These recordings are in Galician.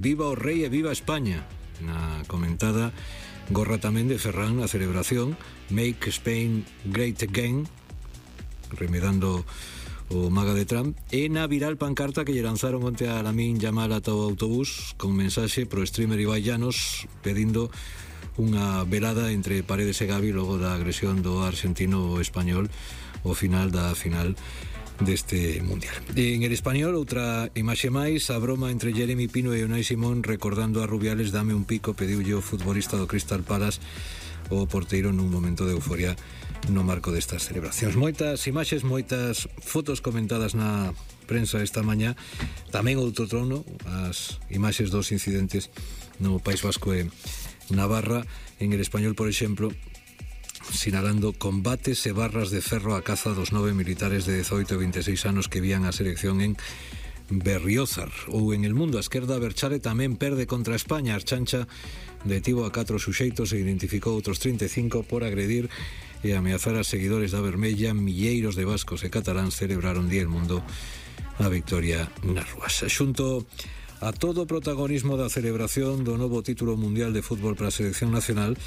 Viva o Rei e viva España. Na comentada gorra tamén de Ferran na celebración Make Spain Great Again, remedando o maga de Trump, e na viral pancarta que lle lanzaron onte a Lamine Yamal ata o autobús con mensaxe pro streamer Ibai Llanos pedindo unha velada entre Paredes e Gavi logo da agresión do argentino español ao final da final deste mundial. En el español, outra imaxe máis, a broma entre Jeremy Pino e Unai Simón recordando a Rubiales dame un pico, pediulle o futbolista do Crystal Palace o porteiro nun momento de euforia no marco destas celebracións. Moitas imaxes, moitas fotos comentadas na prensa esta mañá. Tamén outro trono, as imaxes dos incidentes no País Vasco e Navarra. En el español, por exemplo, sinalando combates e barras de ferro a caza dos 9 militares de 18 e 26 anos que vían a selección en Berriozar. Ou en el mundo, a esquerda Berchale tamén perde contra España. Archancha detivo a 4 suxeitos e identificou outros 35 por agredir e ameazar a seguidores da Vermella. Milleiros de vascos e cataláns celebraron Día del Mundo a victoria nas rúas. Xunto a todo o protagonismo da celebración do novo título mundial de fútbol para a selección nacional,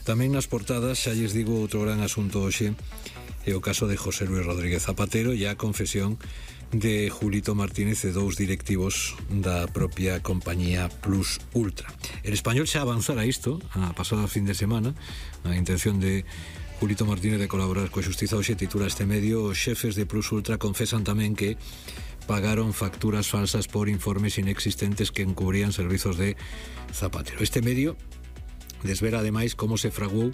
tamén nas portadas, xa lles digo, outro gran asunto hoxe é o caso de José Luis Rodríguez Zapatero e a confesión de Julito Martínez e dous directivos da propia compañía Plus Ultra. El español xa avanzara isto a pasada fin de semana, a intención de Julito Martínez de colaborar coa xustiza. Hoxe titula este medio: os xefes de Plus Ultra confesan tamén que pagaron facturas falsas por informes inexistentes que encubrían servizos de Zapatero. Este medio desvela ademais como se fraguou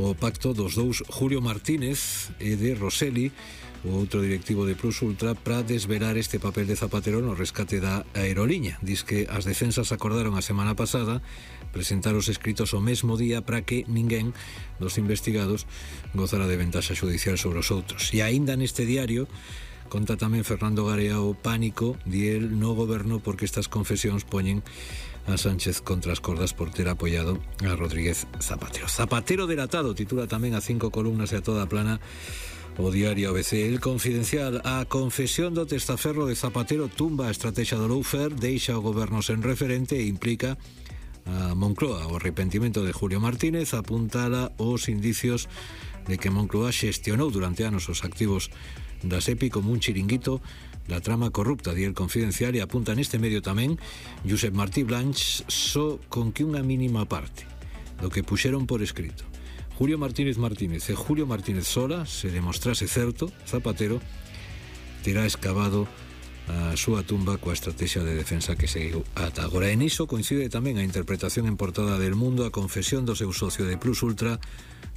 o pacto dos dous Julio Martínez e de Roseli, o outro directivo de Plus Ultra, para desvelar este papel de Zapatero no rescate da aeroliña. Diz que as defensas acordaron a semana pasada presentar os escritos o mesmo día para que ninguén dos investigados gozara de ventaxa xudicial sobre os outros. E aínda neste diario conta tamén Fernando Garea o pánico diel no goberno porque estas confesións poñen a Sánchez contra as cordas por ter apoiado a Rodríguez Zapatero. Zapatero delatado, titula tamén a 5 columnas e a toda plana o diario ABC. El Confidencial: a confesión do testaferro de Zapatero tumba a estrategia do lawfare, deixa o goberno sen referente e implica a Moncloa. O arrepentimento de Julio Martínez apuntala os indicios de que Moncloa xestionou durante anos os activos da SEPI como un chiringuito da trama corrupta, di El Confidencial, e apunta neste medio tamén Josep Martí Blanch só con que unha mínima parte do que puxeron por escrito Julio Martínez Martínez e Julio Martínez sola se demostrase certo, Zapatero terá escavado a súa tumba coa estrategia de defensa que seguiu ata agora. En iso coincide tamén a interpretación en portada del Mundo: a confesión do seu socio de Plus Ultra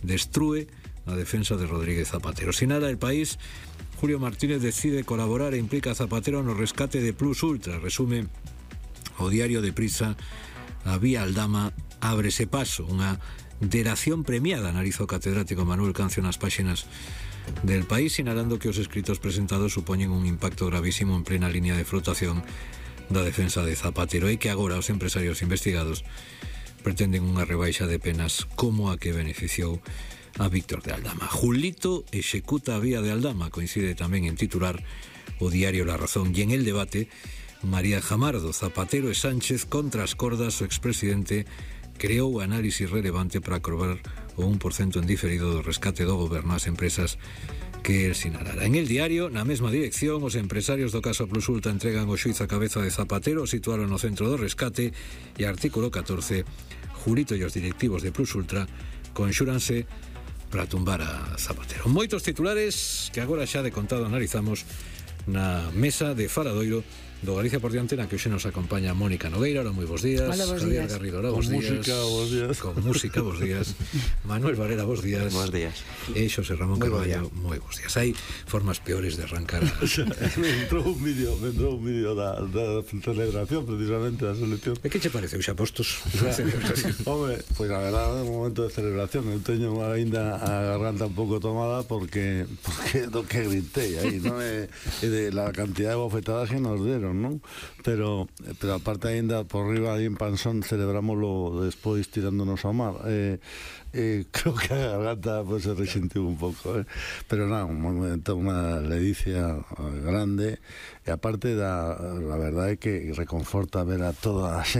destrúe a defensa de Rodríguez Zapatero. Sinala El País: Julio Martínez decide colaborar e implica a Zapatero no rescate de Plus Ultra. Resume o diario de Prisa: a vía Aldama ábrese paso. Unha delación premiada, analiza o catedrático Manuel Cancio nas páxinas del País, sinalando que os escritos presentados supoñen un impacto gravísimo en plena línea de flotación da defensa de Zapatero e que agora os empresarios investigados pretenden unha rebaixa de penas como a que beneficiou a Víctor de Aldama. Julito executa a vía de Aldama, coincide tamén en titular o diario La Razón. E en el debate, María Jamardo: Zapatero e Sánchez contra as cordas. O expresidente creou análisis relevante para aprobar o 1% en diferido do rescate do goberno ás empresas que el sinalara. En el diario, na mesma dirección, os empresarios do caso Plus Ultra entregan o xuiz a cabeza de Zapatero, situaron no centro do rescate, e artículo 14, Julito e os directivos de Plus Ultra conxúranse para tumbar a Zapatero. Moitos titulares que agora xa de contado analizamos na mesa de Faladoiro do Galicia por diante, na que hoxe nos acompaña Mónica Nogueira. Hola, moi bons días. Hola, bons Javier días. Garrido, hola, bons días. Bos días. Con música, bons días. Manuel Varela, bos días. Bos días. E Xosé Ramón Carballo, moi bons días. Hai formas peores de arrancar me entrou un vídeo da celebración precisamente da selección. E que che parece, xa postos? Home, pois a verdade é un momento de celebración. Eu teño ainda a garganta un pouco tomada porque do que gritei aí, non é de la cantidad de bofetadas que nos deron. fixeron, non? Pero aparte ainda por riba aí en Pansón celebrámoslo despois tirándonos ao mar. Creo que a garganta pues, se resentiu un pouco, pero non, unha ledicia grande, e aparte a verdade é que reconforta ver a toda a xente